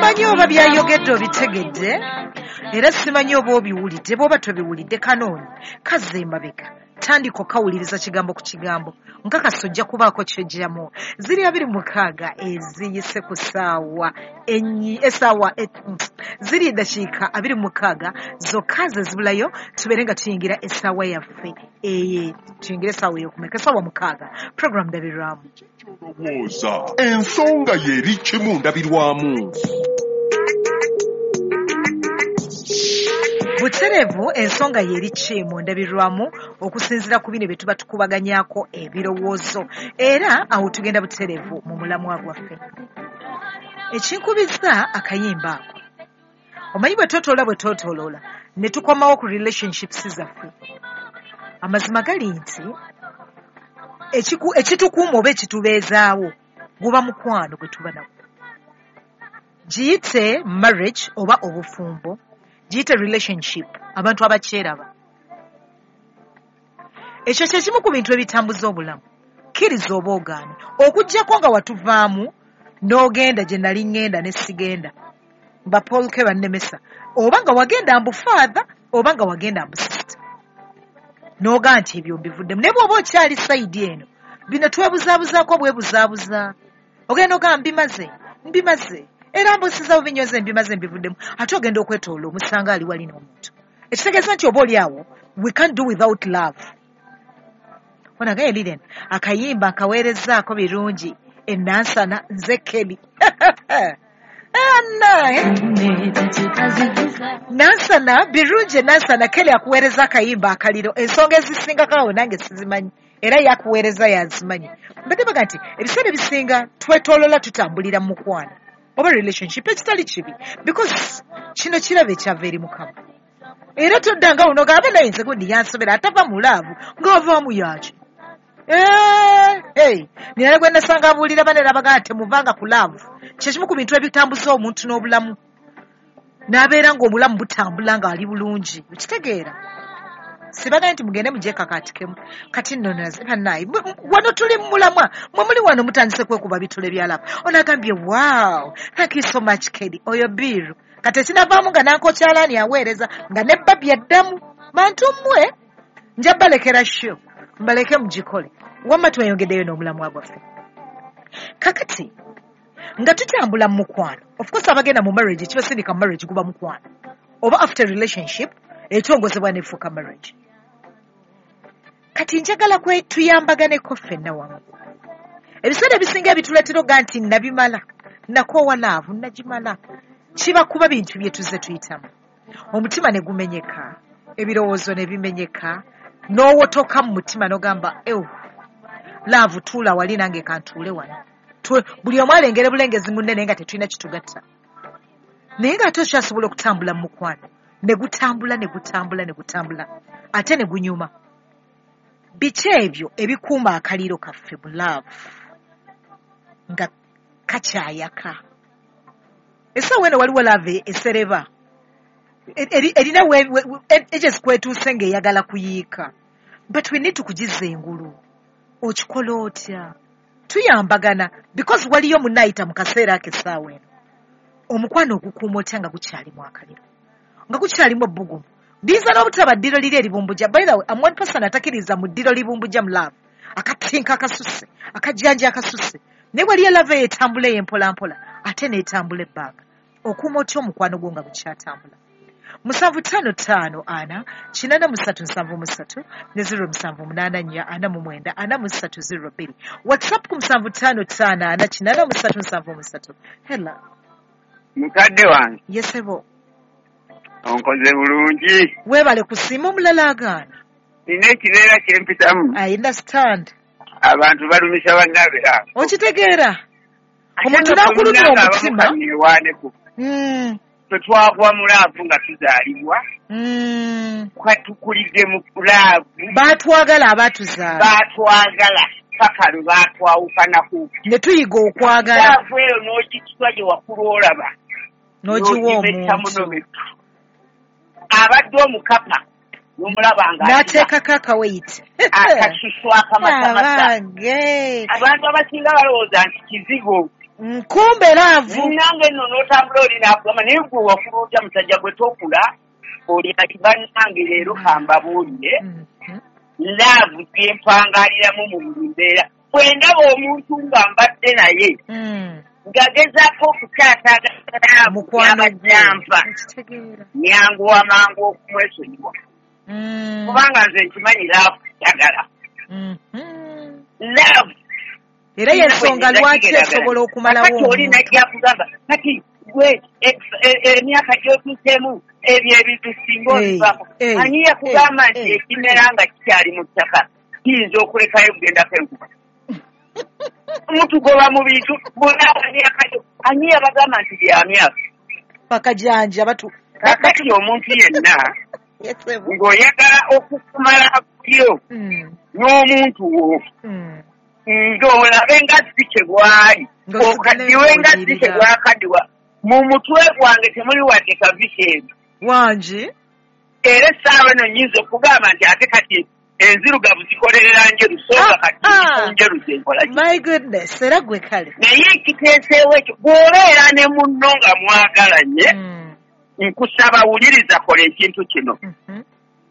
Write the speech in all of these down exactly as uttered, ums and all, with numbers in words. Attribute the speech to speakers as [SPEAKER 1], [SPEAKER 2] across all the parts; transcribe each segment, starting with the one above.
[SPEAKER 1] Simanyi oba byayogedde obitegedde, era simanyi oba obiwulidde. Bw'oba tobiwulidde, kanoonyi kazza emabega, tandika okawuliriza kigambo ku kigambo, nkakasa ojja kubaako ky'oggyamu. Ziri abiri mukaaga eziyise ku ssaawa enyi essaawa e- ziri eddakiika abiri mukaaga zokka ze zibulayo tubeere nga tuyingira essaawa yaffe eye tuyingire essaawa ey'okumeka, essaawa mukaaga. Program Ndabirwamu.
[SPEAKER 2] Olowooza ensonga y'eri kimu ndabirwamu.
[SPEAKER 1] Butereevu ensonga y'eri ki mu ndabirwamu okusinziira ku bino bye tuba tukubaganyaako ebirowoozo, era awo tugenda butereevu mu mulamwa gwaffe. Ekinkubiza akayimba ako, omanyi bwe twetooloola bwe twetooloola ne tukomawo ku relationships zaffe. Amazima gali nti ekiku- ekitukuuma oba ekitubeezaawo guba mukwano gwe tuba nagwo. Giyite marriage oba obufumbo, giyite relationship, abantu abakyeraba. Ekyo kye kimu ku bintu ebitambuza obulamu. Kkiriza oba ogaane, okuggyako nga watuvaamu n'ogenda gye nali ŋŋenda ne sigenda, ba Paul ke bannemesa, oba nga wagenda mbu father oba nga wagenda mbu sister, n'ogaa nti ebyo mbivuddemu. Naye bw'oba okyali side eno, bino twebuzaabuzaako bwebuzaabuza. Ogenda ogamba mbimaze, mbimaze, era mbusiza bubinyoze, mbimaze, mbivuddemu. Ate ogenda okwetoola omusanga ali wali n'omuntu. Ekitegeeza nti oba oli awo, we can't do without love. Onagaye Lilian, akayimba nkaweerezzaako birungi enansana nze Kelly. Anna, Nansana birungi enansana Kelly akuweereza akayimba akaliro. Ensonga ezisingako awo nange sizimanyi, era yakuweereza yazimanyi. Mbadde baga nti ebiseera ebisinga twetoolola tutambulira mu mukwano oba relationship, ekitali kibi, because kino kirabo ekyava eri Mukama. Era toddanga wuno gamba naye nze gundi yansobera atava mu love ng'avaamu yaki. Eh, hey, nina gwe nasanga abuulira banene abagaa temuvanga ku love. Kye kimu ku bintu ebitambuza omuntu n'obulamu, n'abeera ng'obulamu butambula ng'ali bulungi. Okitegeera? Sibagaye nti mugende mugyekakaatikemu. Kati nno bannaaye, wano tuli mu mulamwa, mwe muli wano mutandise kwekuba bitole bya love. Ono agambye wow, thank you so much Kelly, oyo biru. Kati ekinavaamu nga nankokyalaani aweereza nga ne Barbie addamu. Bantu mmwe nja balekera show, mbaleke mugikole. Wamma tweyongeddeyo n'omulamwa gwaffe. Kakati nga tutambula mu mukwano, of course abagenda mu marriage ekibasindika mu marriage guba mukwano, oba after relationship etongozebwa n'efuuka marriage. Kati njagala kwe tuyambaganeko ffenna wamu. Ebiseera ebisinga ebituleetera oga nti nabimala, nakoowa love, nagimala, kiba kuba bintu bye tuzze tuyitamu. Omutima ne gumenyeka, ebirowoozo ne bimenyeka, n'owotoka mu mutima n'ogamba ew, love tuula wali nange kantuule wano. Buli omu alengere bulengezi munne naye nga tetulina kitugatta. Naye ng'ate okyasobola okutambula mu mukwano, ne gutambula ne gutambula ne gutambula, ate ne gunyuma. Biki ebyo ebikuuma akaliro kaffe mu love nga kakyayaka? Essaawa eno waliwo love esereba, erina ages kwetuuse ng'eyagala kuyiika, but we need to kugizza engulu. Okikola otya? Tuyambagana because waliyo munnaayita mu kaseera ako essaawa eno. Omukwano ogukuuma otya nga gukyalimu akaliro, nga gukyalimu ebbugumu? Liyinza n'obutaba ddiro liri eribumbujja. By the way, I'm one person atakkiriza mu ddiro libumbujja mu love, akatinka akasusse, akajjanja akasusse. Naye waliyo love eyo etambula eyo empolampola, ate n'etambula ebbanga. Okuuma otya omukwano gwo nga gukyatambula? Musanvu ttaano ttaano ana kinaana mu ssatu nsanvu mu ssatu ne zero musanvu munaana nnya ana mu mwenda ana mu ssatu zero bbiri. WhatsApp ku musanvu ttaano ttaano ana kinaana mu ssatu nsanvu mu ssatu. Hello.
[SPEAKER 3] Mukadde wange.
[SPEAKER 1] Yesebo.
[SPEAKER 3] Onkoze bulungi.
[SPEAKER 1] Weebale kusiima. Omulala agaana.
[SPEAKER 3] Nina ekibeera kye mpitamu.
[SPEAKER 1] I understand.
[SPEAKER 3] Abantu balumisa bannaabwe abo.
[SPEAKER 1] Okitegeera? Omuntu n'akulumya omutima.
[SPEAKER 3] Newaaneko.
[SPEAKER 1] Mm.
[SPEAKER 3] Ffe twagwa mu love nga tuzaalibwa.
[SPEAKER 1] Mm.
[SPEAKER 3] Tukulidde mu love.
[SPEAKER 1] Baatwagala abaatuzaala.
[SPEAKER 3] Baatwagala paka lwe baatwawukanako.
[SPEAKER 1] Ne tuyiga okwagala.
[SPEAKER 3] Love eyo n'ogitwa gye wakula olaba.
[SPEAKER 1] N'ogiwa omuntu.
[SPEAKER 3] Abadde omukapa n'omulaba nga
[SPEAKER 1] n'ateekako akaweyiti.
[SPEAKER 3] Akasusu akamasamasa.
[SPEAKER 1] Abange.
[SPEAKER 3] Abantu abasinga balowooza nti kizigo.
[SPEAKER 1] Nkumbe love.
[SPEAKER 3] Nange nno n'otambula oli n'akugamba naye gwe wakula otya musajja gwe tokula oli ati bannange leero kambabuulire
[SPEAKER 1] Mhm.
[SPEAKER 3] love gye mpangaliramu mu buli mbeera. Bwe ndaba omuntu nga mbadde naye
[SPEAKER 1] Mm.
[SPEAKER 3] ngagezaako okukyataagala
[SPEAKER 1] Mukwano gwe.
[SPEAKER 3] yabajjampa
[SPEAKER 1] Okitegeera.
[SPEAKER 3] nyanguwa mangu okumwesonyiwa
[SPEAKER 1] Mm.
[SPEAKER 3] kubanga nze nkimanyi love njagala
[SPEAKER 1] Mhm.
[SPEAKER 3] love
[SPEAKER 1] Era y'ensonga lwaki esobola okumalawo
[SPEAKER 3] kati oli
[SPEAKER 1] omuntu.
[SPEAKER 3] najja kugamba kati gwe e- e- emyaka gy'otuuseemu ebyo ebintu singa
[SPEAKER 1] Eh,
[SPEAKER 3] obivaako
[SPEAKER 1] eh,
[SPEAKER 3] ani yakugamba
[SPEAKER 1] eh,
[SPEAKER 3] nti
[SPEAKER 1] eh.
[SPEAKER 3] ekimera nga kikyali mu ttaka kiyinza okulekayo okugendako enkuba mutugoba mu bintu bonna emyaka gyo ani yabagamba nti bya myaka
[SPEAKER 1] Bakajanja batu
[SPEAKER 3] kakati omuntu yenna
[SPEAKER 1] Yes, sebo.
[SPEAKER 3] ng'oyagala okukumala yo
[SPEAKER 1] Mm.
[SPEAKER 3] n'omuntu wo
[SPEAKER 1] Mm.
[SPEAKER 3] ng'olabe nga si kye bwali
[SPEAKER 1] Ng'osigala
[SPEAKER 3] okaddiwe nga si kye
[SPEAKER 1] ng'owulirira.
[SPEAKER 3] bwakaddiwa mu mutwe gwange temuli wadde kavisi ebyo
[SPEAKER 1] Wangi.
[SPEAKER 3] era essaawa eno nnyinza okugamba nti ate kati enzirugavu zikolerera njeru so nga kati
[SPEAKER 1] Ah, ah.
[SPEAKER 3] njeru zenkola ki
[SPEAKER 1] My goodness, era gwe kale.
[SPEAKER 3] naye ekiteeseewo ekyo bw'obeera ne munno nga mwagalanye
[SPEAKER 1] Mm.
[SPEAKER 3] nkusaba wuliriza kola ekintu kino
[SPEAKER 1] Mhm.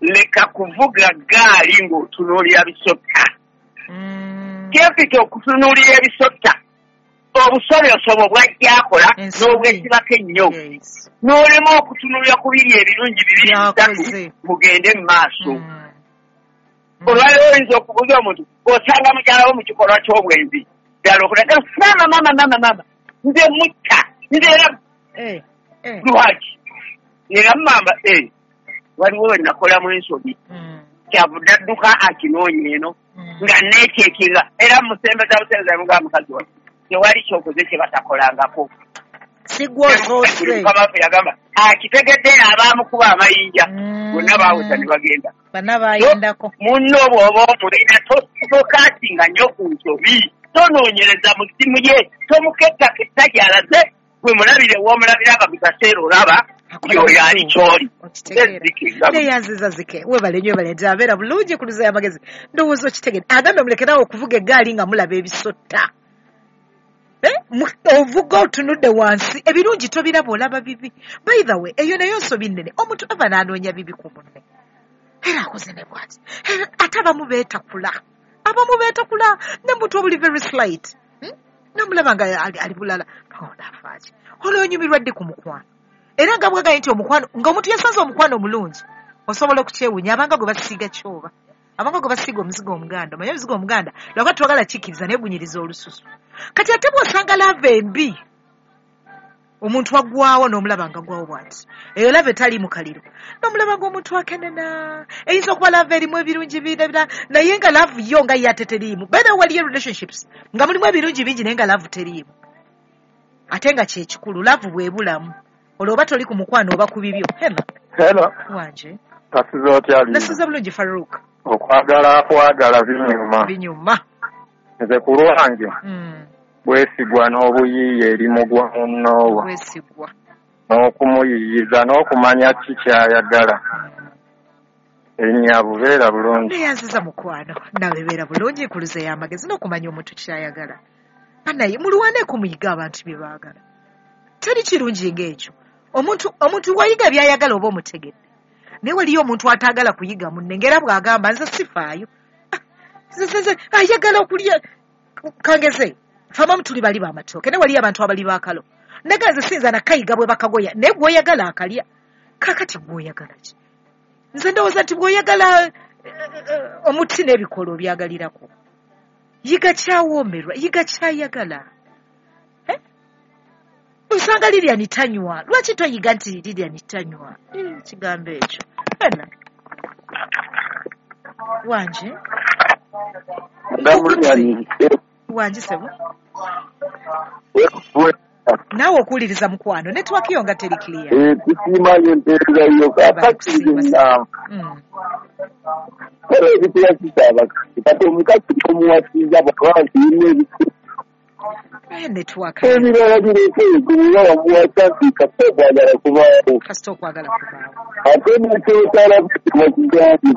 [SPEAKER 3] leka kuvuga ggaali ng'otunuulira bisotta
[SPEAKER 1] Mm.
[SPEAKER 3] kyempita okutunuulira ebisotta obusobyosobo bw'ajja akola
[SPEAKER 1] Ensobi.
[SPEAKER 3] n'obwesibako ennyo
[SPEAKER 1] Yes.
[SPEAKER 3] n'olema okutunuulira ku biri ebirungi bibiri bisatu
[SPEAKER 1] Byakoze.
[SPEAKER 3] mugende mu maaso
[SPEAKER 1] Mm. Mm.
[SPEAKER 3] olwaleero oyinza okubuuza omuntu osanga mukyala wo mu kikolwa ky'obwenzi ddala okulaga maama maama maama maama nze mutta nze era
[SPEAKER 1] Eh, eh.
[SPEAKER 3] lwaki era mumamba eh, waliwo we nakolamu ensobi
[SPEAKER 1] Mm.
[SPEAKER 3] kyavudde adduka akinoonya eno
[SPEAKER 1] Mm.
[SPEAKER 3] nga neekyekira era musembeza busembeza mugamba mukazi wange tewali kyokoze kye batakolangako
[SPEAKER 1] Si gwe osoose.
[SPEAKER 3] mukama waffe yagamba akitegedde abaamukuba amayinja
[SPEAKER 1] Mm.
[SPEAKER 3] bonna baawusa ne bagenda
[SPEAKER 1] Bonna baayendako.
[SPEAKER 3] munno bw'oba omulina tokasinga nnyo ku nsobi tonoonyereza mu ssimu ye tomukettaketta gy'alaze gwe mulabire w'omulabira nga buli kaseera olaba yoyo ali ky'oli
[SPEAKER 1] Okitegeera. Neyanziza zike webale nnyo webale nti abeera bulungi ku luza y'amagezi ndowooza okitegedde agambye mulekerawo okuvuga eggaali nga mulaba ebisotta Eh, mu- ovuga otunudde wansi ebirungi tobiraba olaba bibi by the way eyo nayo nsobi nnene omuntu ava n'anoonya bibi ku munne era akoze ne bwati Era ate abamu beetakula abamu beetakula ne muntu obuli very slight Hmm? namulaba nga ali, ali bulala onaafaaki olwonyumirwa ddi ku mukwano era nga bwagaye nti omukwano ng'omuntu yasanze omukwano omulungi osobola okukyewuunya abanga gwe basiiga kyoba abanga gwe basiiga omuzigo omuganda omanyi omuzigo omuganda lwakuba twagala kikkiriza naye gunyiriza olususu kati ate bw'osanga lava embi omuntu agwawo n'omulaba nga agwawo bw'ati eyo lava etali mu kaliro n'omulaba ng'omuntu akenena eyinza okuba lava erimu ebirungi bina naye nga laavu yo nga ye ate teriimu by the way waliyo relationships nga mulimu ebirungi bingi naye nga laavu teriimu ate nga kyekikulu laavu bwebulamu olwo oba toli ku mukwano oba ku bibyo hema
[SPEAKER 4] Hello,
[SPEAKER 1] wanje
[SPEAKER 4] kasiza otya Lina?
[SPEAKER 1] nasuza bulungi Farouk
[SPEAKER 4] Okwagala kwagala binyuma.
[SPEAKER 1] binyuma
[SPEAKER 4] Nze ku lwange
[SPEAKER 1] Mm,
[SPEAKER 4] bwesigwa n'obuyiiya eri mugwa munnoowo
[SPEAKER 1] bwesigwa
[SPEAKER 4] n'okumuyiiyiza n'okumanya ki ky'ayagala. Erinnya bubeera bulungi.
[SPEAKER 1] neyanziza mukwano nawe beera bulungi nkuluze y'amagezi n'okumanya omuntu kyayagala banaye mulwaneeko muyiga abantu bye baagala teri kirungi ng'ekyo omuntu omuntu wayiga by'ayagala oba omutegedde naye waliyo omuntu ataagala kuyiga munne ng'era bw'agamba nze sifaayo Ah, nze- nze- nze ayagala okulya kangeze famamu tuli bali b'amatooke naye waliyo abantu abali baakalo naga nze siyinza nakayiga bwe bakagoya naye gw'oyagala akalya kaakati gw'oyagala ki nze ndowooza nti bw'oyagala eh, eh, omuti n'ebikolo obyagalirako yiga kyawoomerwa yiga kyayagala Eh? osanga Lilian tanywa lwaki toyiga nti Lilian tanywa Eh, kigambo ekyo ena wanje wange sebo naawe okuwuliriza mukwano netiwaki yo nga teri clear
[SPEAKER 5] tusiimayo empeereza yo kakati nze nnamba
[SPEAKER 1] Mm.
[SPEAKER 5] era ebituyasisa abakazi kati omukazi tomuwasiza bwaba kirina ebikulu
[SPEAKER 1] Eh, netiwaka
[SPEAKER 5] ebirala bireeta ebizibu wamuwasa nti kasita okwagala kubaawo
[SPEAKER 1] kasita okwagala kubaawo
[SPEAKER 5] ate nekyokyala bakigambye